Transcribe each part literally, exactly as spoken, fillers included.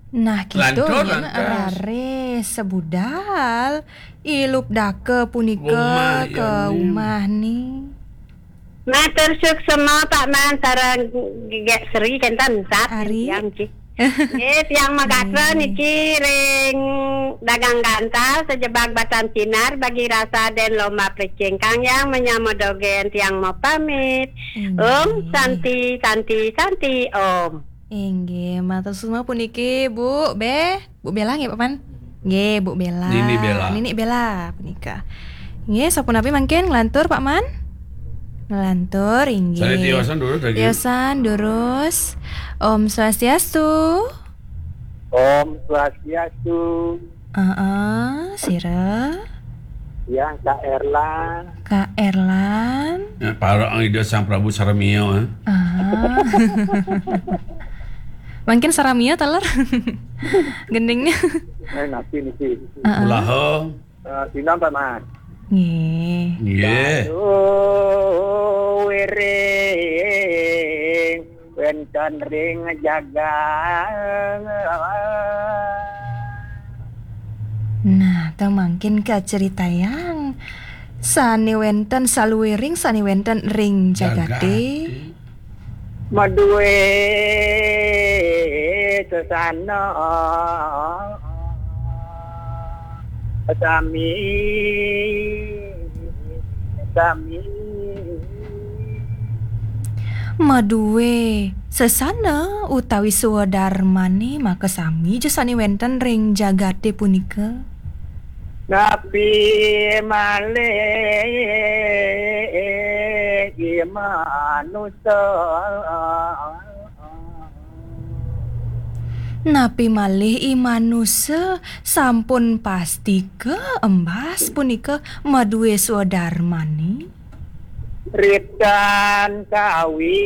Nah, gitu. Lantur, nyen, lantas. Raris sebudal ilup daka punika. Umah, ke ya, ni. Umah ni. Matur suksma, Pak Man, sareng Gek Sri, kenten sat. Ari. Tiang, Ci. Nggih, tiang magatra. Nggih. Niki ring dagang gantal sajebag Batan Sinar, bagi rasa den lomba plecing kang yang menyama dogen, tiang mau pamit. Inggih. Om Santi, Santi, Santi, Om. Inggih, matur suksma puniki, Bu, Beh. Bu Bella nggih, Pak Man? Nggih, Bu Bella. Nini Bella. Nini Bella punika. Nggih, sapunapi mangkin nglantur, Pak Man? Nglantur, inggih. Sané tiosan durus lagi. Tiosan durus. Om Swastiastu. Om Swastiastu. Heeh, sira. Ya, Kak Erlan. Kak Erlan. Ya, para Ida Sang Prabu Saramia, eh. Ah. Mangkin Saramia taler. Gendingnya. Eh, napi niki? Heeh. Ulaha. Eh, sinan, Pak Man. Nggih. Nggih. Aduh, wiring wénten ring jagat. Nah, ta mangkin kacaritayang sané wénten saluiring sané wénten ring jagaté. Jagaté. Madué sesana sami, sami. Madué sesana utawi swadarmané makasami ja sané wénten ring jagaté punika. Napi malih i manusa? Napi malih i manusa sampun pastika embas punika madué swadarmané? Ritan kawi,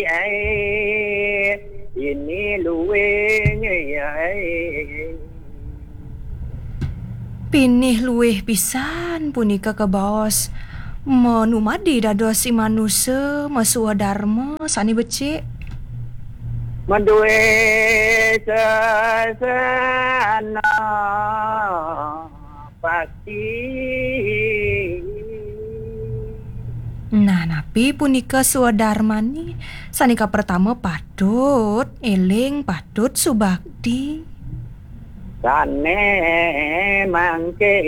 eh, ini luwih, eh. Pinih luwih pisan punika kabaos manumadi dados i manusa maswadarma sané becik. Madué sesana pasti. Nah, napi punika swadarmané? Sané kapertama patut éling, patut subakti. Sané mangkin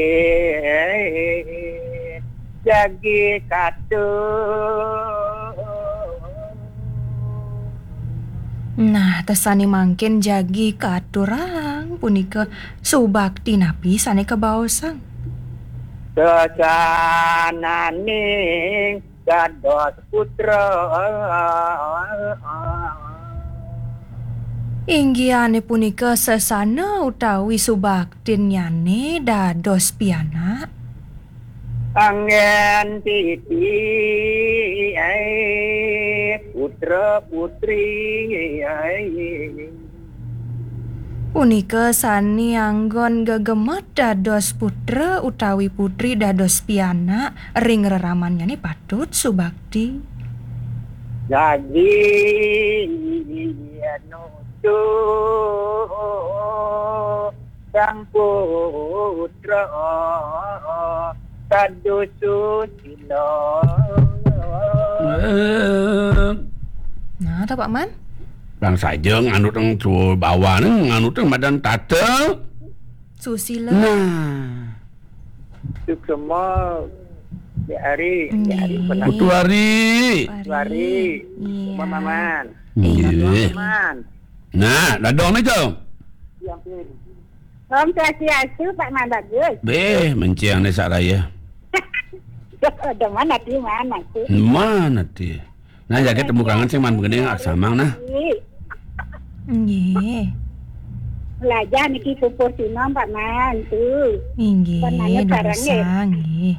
jagi katur. Nah, ta sané mangkin jagi katurang punika subakti napi sané kabaosang? Sesananing dados putra. Inggihané punika sesana utawi subaktinnyané dados pianak. Anggén titi, eh, putra putri, eh. Punika sané anggon gegemet dados putra utawi putri dados pianak ring reramannyané patut subakti. Dadi nuju Sang Putra Sadu Susila. Eh. Nah, ta, Pak Man? Bang saja nganut ring tua bawané, nganut ring madan tata. Susila. Nah. Suksema, Dek Ari, Dek Ari. Nggih. Pernah. Putu Ari. Putu Ari. Iya. Paman. Nggih. Paman. Nah, dadong nika. Om Swastiastu, Pak Man Bagus. Béh, menceng né sak raya. Ada mana ti, mana ti? Mana ti? Nah, jagat temu kangen sing man begini ngak samang nah. Nggih. Belajar niki pupur sinom, Pak Man, tu. Inggih, Pak Man, durusang, nggih.